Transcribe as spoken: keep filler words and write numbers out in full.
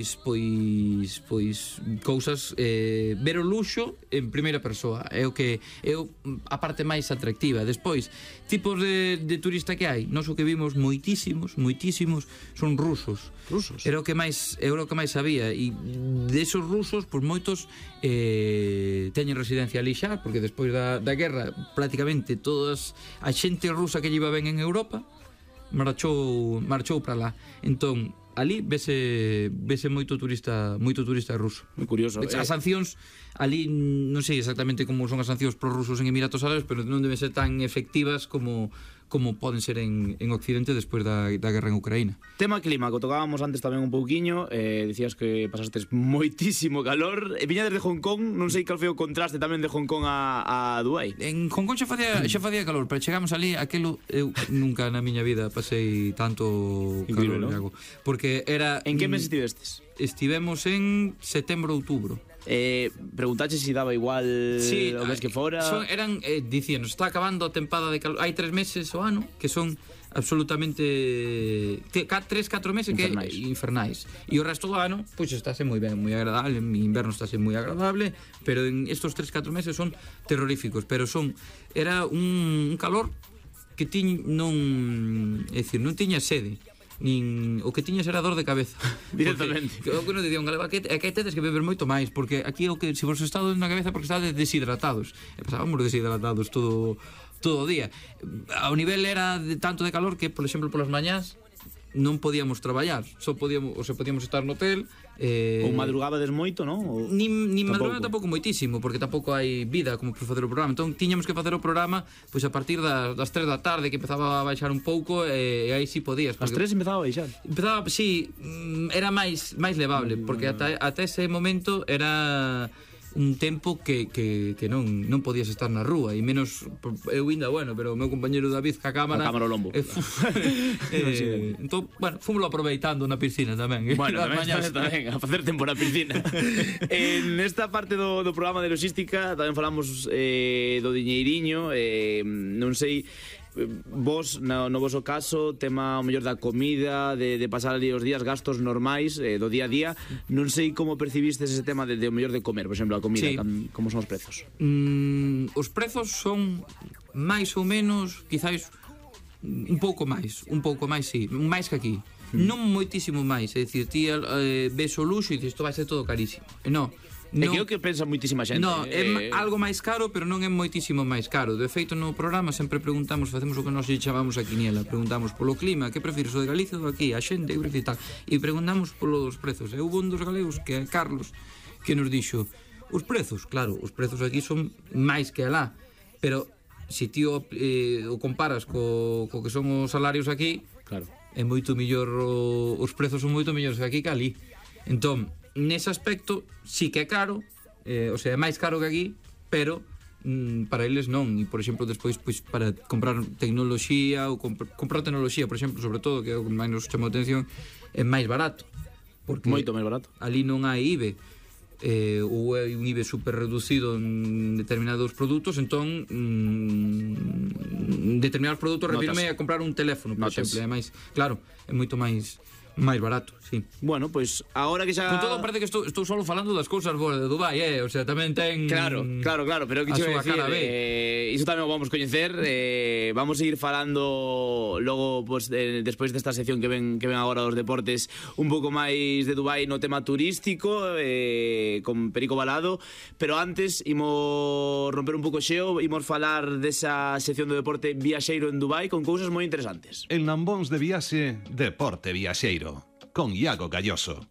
Pois, pois cousas, eh, ver o luxo en primeira persoa é o que é o, a parte máis atractiva. Despois, tipos de, de turista que hai, nós o que vimos moitísimos, moitísimos son rusos. Rusos? Era o que máis, era o que máis sabía, e desos rusos, pois moitos eh, teñen residencia ali xa, porque despois da, da guerra prácticamente todas a xente rusa que lle iba ben en Europa marchou marchou para lá. Entón ali vese vese moito turista, moito turista ruso. Moi curioso. As sancións ali non sei exactamente como son as sancións prorrusos en Emiratos Árabes, pero non deben ser tan efectivas como como poden ser en, en Occidente despois da, da guerra en Ucraína. Tema clima, que tocábamos antes tamén un pouquiño, eh, dicías que pasastes moitísimo calor, e viña desde Hong Kong, non sei cal foi o contraste tamén de Hong Kong a, a Dubai. En Hong Kong xa facía, xa facía calor, pero chegamos ali, aquelo eu nunca na miña vida pasei tanto Increíble, calor, ¿no? Porque era... En que mes estivestes? Estivemos en setembro, outubro. Eh, preguntache se si daba igual sí, o mes que fora. Son, eran, eh, dicían, está acabando a tempada de calor. Hai tres meses o ano que son absolutamente te, ca, tres, catro meses infernais. que infernais. E o resto do ano, pois pues, estáse moi ben, moi agradable. En inverno estáse moi agradable, pero en estos tres, catro meses son terroríficos. Pero son, era un, un calor que ti non, é dicir, non tiña sede. Nin o que tiñas era dor de cabeza directamente. Porque, o que non dicía un galego, que, que tedes que beber moito máis, porque aquí o que se vos estado na cabeza porque estades deshidratados. E pasábamos deshidratados todo todo o día. O nivel era de tanto de calor que, por exemplo, polas mañás non podíamos traballar, só podíamos, o sea, podíamos estar no hotel. Eh, ou madrugabades moito, non? Ou... Nin, nin madrugaba tampouco moitísimo, porque tampouco hai vida como para facer o programa. Entón tiñamos que facer o programa pois a partir das, das tres da tarde, que empezaba a baixar un pouco, e, e aí si podías. As tres empezaba a baixar? Empezaba, si, sí, era máis máis levable, porque ata, ata ese momento era un tempo que, que, que non, non podías estar na rúa, e menos eu ainda, bueno, pero o meu compañero David ca cámara, a cámara ao lombo. Eh, eh, entón, bueno, fomos aproveitando na piscina tamén. Bueno, tamén, tamén, tamén, a facer tempo na piscina. En esta parte do, do programa de logística tamén falamos eh, do diñeiriño, eh, non sei vos, no, no voso caso, tema o mellor da comida, de, de pasar ali os días, gastos normais, eh, do día a día, non sei como percibistes ese tema de, de o mellor de comer, por exemplo, a comida, sí. Como son os prezos? Mm, os prezos son máis ou menos, quizáis un pouco máis, un pouco máis, sí, máis que aquí. Mm. Non moitísimo máis, é dicir, ti eh, ves o luxo e dices, isto vai ser todo carísimo. E non. É que é o que pensa moitísima xente. No, é eh... algo máis caro, pero non é moitísimo máis caro. De feito, no programa sempre preguntamos, facemos o que nós chamamos a quiniela, preguntamos polo clima, que prefires, o de Galicia ou aquí, a xente, eu prefiro tal, e preguntamos polos prezos. E houve un dos galegos, que é Carlos, que nos dixo, os prezos, claro, os prezos aquí son máis que alá, pero se ti o, eh, o comparas co, co que son os salarios aquí, claro, é moito mellor, o, os prezos son moito mellores aquí que ali. Entón, nese aspecto sí que é caro, eh, o sea, é máis caro que aquí, pero mm, para eles non. E, por exemplo, despois, pois, para comprar tecnoloxía ou comp comprar tecnoloxía, por exemplo, sobre todo, que é o que máis nos chama a atención, é máis barato, porque moito máis barato. Ali non hai I B E, eh, ou é un I B E super reducido en determinados produtos, entón mm, determinados produtos refirme a comprar un teléfono, por Notas. exemplo, é máis, claro, é moito máis máis barato, sí. Bueno, pois pues, agora que xa... Con todo parece que estou, estou solo falando das cousas boas de Dubai, eh? O sea, tamén ten... Claro, claro, claro, pero que a che súa decir, cara B. eh, iso tamén o vamos coñecer, eh, vamos a ir falando logo, pues, de, despois desta sección que ven, que ven agora dos deportes, un pouco máis de Dubai no tema turístico, eh, con Perico Balado, pero antes imos romper un pouco xeo, imos falar desa sección do deporte viaxeiro en Dubai con cousas moi interesantes. En Lambóns de Viaxe, Deporte Viaxeiro, con Iago Galloso.